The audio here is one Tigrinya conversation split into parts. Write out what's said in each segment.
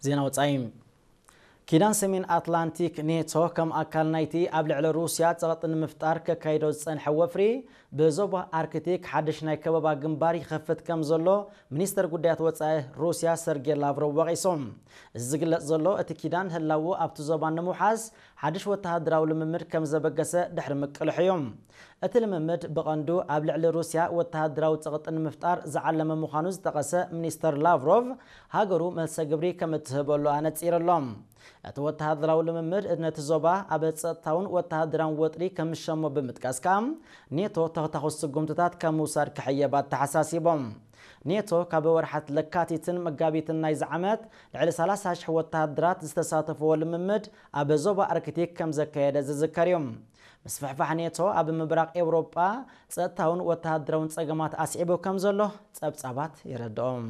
ዜና ወጻኢ። ኪዳን ሰሜን ኣትላንቲክ ኔቶ ከም ኣካል ናይቲ ኣብ ልዕሊ ሩስያ ጸቕጢ ንምፍጣር ከካይዶ ዝጸንሐ ወፍሪ ብዞባ ኣርክቲክ ሓድሽ ናይ ከበባ ግንባር ይኸፍት ከም ዘሎ ሚኒስተር ጉዳያት ወጻኢ ሩስያ ሰርጌ ላቭሮቭ ወቒሶም። እዚ ዝግለጽ ዘሎ እቲ ኪዳን ህላዉ ኣብቲ ዞባ ንምውሓስ ሓድሽ ወተሃደራዊ ልምምድ ከም ዘበገሰ ድሕሪ ምቅልሑ እዩ። እቲ ልምምድ ብቐንዱ ኣብ ልዕሊ ሩስያ ወተሃደራዊ ጸቕጢ ንምፍጣር ዝዓለመ ምዃኑ ዝጠቐሰ ሚኒስተር ላቭሮቭ፣ ሃገሩ መልሰ ግብሪ ከም እትህበሉ ኣነጺሩ ኣሎ። እቲ ወተሃደራዊ ልምምድ ነቲ ዞባ ኣብ ጸጥታውን ወተሃደራውን ወጥሪ ከም ዝሸሞ ብምጥቃስ ከኣ፣ ኔቶ ተኽታኹስ ስጉምትታት ካብ ምውሳድ ክሕየብ ኣተሓሳሲቦም። ኔቶ ካብ ወርሓት ለካቲትን መጋቢትን ናይዚ ዓመት ልዕሊ ሰላሳ ሽሕ ወተሃደራት ዝተሳተፍዎ ልምምድ ኣብ ዞባ ኣርክቲክ ከም ዘካየደ ዝዝከር እዩ። ምስፍሕፋሕ ኔቶ ኣብ ምብራቕ ኤውሮጳ ጸጥታውን ወተሃደራውን ጸገማት ኣስዒቡ ከም ዘሎ ጸብጻባት የረድኦም።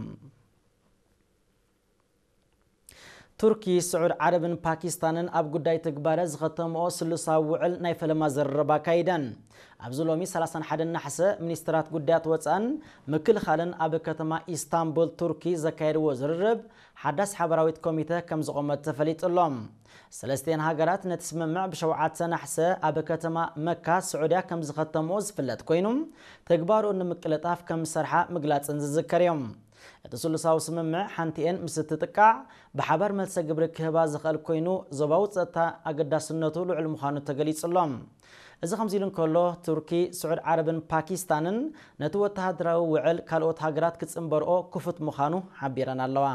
ቱርኪ፣ ስዑድ ዓረብን ፓኪስታንን ኣብ ጉዳይ ትግባረ ዝኸተምኦ ስሉሳዊ ውዕል ናይ ፈለማ ዝርርብ ኣካይደን። ኣብዚ ሎሚ ሰላሳን ሓደን ናሕሰ ሚኒስትራት ጉዳያት ወጻእን ምክልኻልን ኣብ ከተማ ኢስታንቡል ቱርኪ ዘካየድዎ ዝርርብ ሓዳስ ሓበራዊት ኮሚተ ከም ዝቖመት ተፈሊጡ ኣሎ። ሰለስቲኤን ሃገራት ነቲ ስምምዕ ብሸውዓተ ናሕሰ ኣብ ከተማ መካ ስዑድያ ከም ዝኸተምኦ ዝፍለጥ ኮይኑ፣ ተግባሩ ንምቅልጣፍ ከም ዝሰርሓ ምግላጽን ዝዝከር እዮም። እቲ ስሉሳዊ ስምምዕ ሓንቲኤን ምስ እትጥቃዕ ብሓባር መልሰ ግብሪ ክህባ ዝኽእል ኮይኑ፣ ዞባዊ ጸጥታ ኣገዳስነቱ ልዑል ምዃኑ ተገሊጹ ኣሎ። እዚ ከምዚ ኢሉ እንከሎ፣ ቱርኪ፣ ስዑድ ዓረብን ፓኪስታንን ነቲ ወተሃደራዊ ውዕል ካልኦት ሃገራት ክጽንበርኦ ክፉት ምዃኑ ሓቢረን ኣለዋ።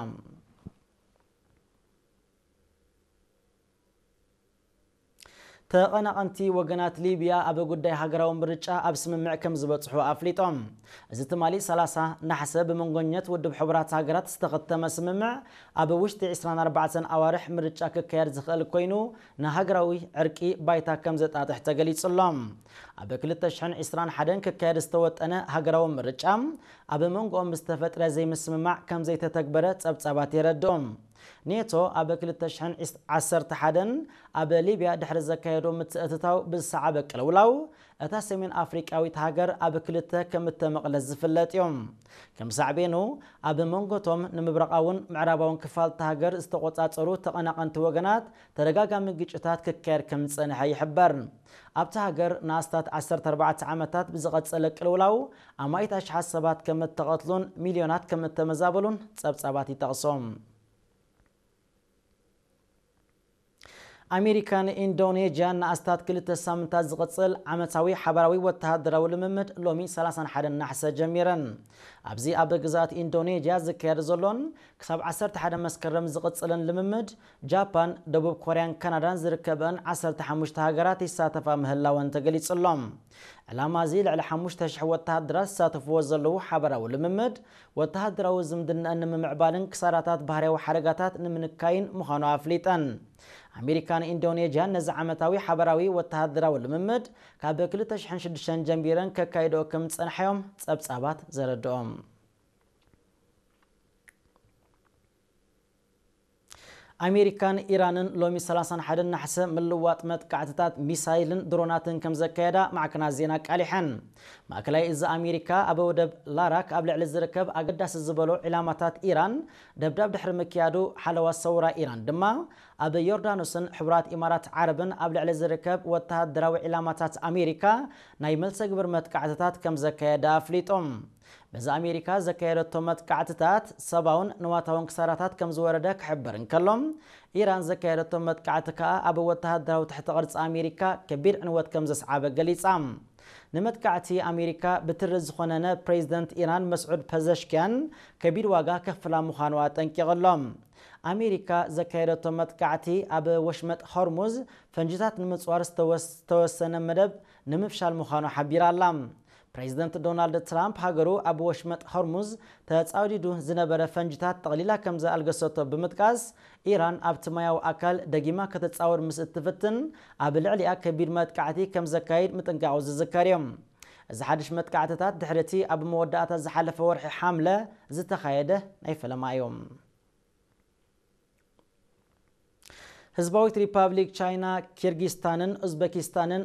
ተቐናቐንቲ ወገናት ሊብያ ኣብ ጉዳይ ሃገራዊ ምርጫ ኣብ ስምምዕ ከም ዝበጽሑ ኣፍሊጦም። እዚ ትማሊ ሰላሳ ናሕሰ ብመንጎኘት ውድብ ሕቡራት ሃገራት ዝተኸተመ ስምምዕ፣ ኣብ ውሽጢ ዕስራን ኣርባዕተን ኣዋርሕ ምርጫ ክካየድ ዝኽእል ኮይኑ፣ ንሃገራዊ ዕርቂ ባይታ ከም ዘጣጥሕ ተገሊጹ ኣሎ። ኣብ ክልተ ሽሕን ዕስራን ሓደን ክካየድ ዝተወጠነ ሃገራዊ ምርጫ፣ ኣብ መንጎኦም ዝተፈጥረ ዘይምስምማዕ ከም ዘይተተግበረ ጸብጻባት የረድኦም። ኔቶ ኣብ ክልተ ሽሕን ዓሰርተ ሓደን ኣብ ሊብያ ድሕሪ ዘካየዶ ምትእትታው ብዝሰዓበ ቅልውላው፣ እታ ሰሜን ኣፍሪቃዊት ሃገር ኣብ ክልተ ከም እተመቕለት ዝፍለጥ እዩ። ከም ሳዕቤኑ፣ ኣብ መንጎቶም ንምብራቓውን ምዕራባውን ክፋል እታ ሃገር ዝተቖጻጸሩ ተቐናቐንቲ ወገናት ተደጋጋሚ ግጭታት ክካየድ ከም ዝጸንሐ ይሕበር። ኣብታ ሃገር ንኣስታት ዓሰርተ ኣርባዕተ ዓመታት ብዝቐጸለ ቅልውላው ኣማኢት ኣሽሓት ሰባት ከም እተቐትሉን ሚልዮናት ከም እተመዛበሉን ጸብጻባት ይጠቕሶም። ኣሜሪካን ኢንዶኔዥያን ንኣስታት ክልተ ሳምንታት ዝቕጽል ዓመታዊ ሓባራዊ ወተሃደራዊ ልምምድ ሎሚ ሰላሳን ሓደን ናሕሰ ጀሚረን። ኣብዚ ኣብ ግዝኣት ኢንዶኔዥያ ዝካየድ ዘሎን ክሳብ ዓሰርተ ሓደ መስከረም ዝቕጽልን ልምምድ፣ ጃፓን፣ ደቡብ ኮርያን ካናዳን ዝርከበን ዓሰርተ ሓሙሽተ ሃገራት ይሳተፋ ምህላወን ተገሊጹ ኣሎ። ዕላማ እዚ ልዕሊ ሓሙሽተ ሽሕ ወተሃደራት ዝሳተፍዎ ዘለዉ ሓባራዊ ልምምድ፣ ወተሃደራዊ ዝምድናኣን ንምምዕባልን ክሳራታት ባህርያዊ ሓደጋታት ንምንካይን ምዃኑ ኣፍሊጠን። ኣሜሪካን ኢንዶኔዥያን ነዚ ዓመታዊ ሓባራዊ ወተሃደራዊ ልምምድ ካብ ክልተ ሽሕን ሽዱሽተን ጀሚረን ከካይድኦ ከም ዝጸንሓዮም ጸብጻባት ዘረድኦም። ኣሜሪካን ኢራንን ሎሚ ሰላሳን ሓደን ናሕሰ ምልዋጥ መጥቃዕትታት ሚሳይልን ድሮናትን ከም ዘካየዳ ማዕከናት ዜና ኣቃሊሐን። ማእከላይ እዚ ኣሜሪካ ኣብ ወደብ ላራክ ኣብ ልዕሊ ዝርከብ ኣገዳሲ ዝበሎ ዒላማታት ኢራን ደብዳብ ድሕሪ ምክያዱ፣ ሓለዋ ሰውራ ኢራን ድማ ኣብ ዮርዳኖስን ሕቡራት ኢማራት ዓረብን ኣብ ልዕሊ ዝርከብ ወተሃደራዊ ዒላማታት ኣሜሪካ ናይ መልሰ ግብር መጥቃዕትታት ከም ዘካየዳ ኣፍሊጡ። በዚ ኣሜሪካ ዘካየደቶ መጥቃዕትታት ሰብኣውን ንዋታውን ክሳራታት ከም ዝወረደ ክሕበር እንከሎ፣ ኢራን ዘካየደቶ መጥቃዕቲ ከኣ ኣብ ወተሃደራዊ ትሕቲ ቅርጺ ኣሜሪካ ከቢድ ዕንወት ከም ዘስዓበ ገሊጻ። ንመጥቃዕቲ ኣሜሪካ ብትሪ ዝኾነነ ፕሬዚደንት ኢራን መስዑድ ፐዘሽኪያን ከቢድ ዋጋ ከፍላ ምዃኑ ኣጠንቂቑ ኣሎ። ኣሜሪካ ዘካየደቶ መጥቃዕቲ ኣብ ወሽመጥ ሆርሙዝ ፈንጅታት ንምጽዋር ዝተወስ-፣ ዝተወሰነ መደብ ንምፍሻል ምዃኑ ሓቢራ ኣላ። ፕሬዚደንት ዶናልድ ትራምፕ ሃገሩ ኣብ ወሽመጥ ሆርሙዝ ተጻውዲዱ ዝነበረ ፈንጅታት ጠቕሊላ ከም ዝኣልገሰቶ ብምጥቃስ፣ ኢራን ኣብቲ ማያዊ ኣካል ደጊማ ከተጻውር ምስ እትፍትን ኣብ ልዕሊኣ ከቢድ መጥቃዕቲ ከም ዘካይድ ምጥንቃቑ ዝዝከር እዩ። እዚ ሓድሽ መጥቃዕትታት ድሕሪ እቲ ኣብ መወዳእታ ዝሓለፈ ወርሒ ሓምለ ዝተኻየደ ናይ ፈለማ እዩ። ህዝባዊት ሪፓብሊክ ቻይና፣ ኪርጊስታንን ኡዝበኪስታንን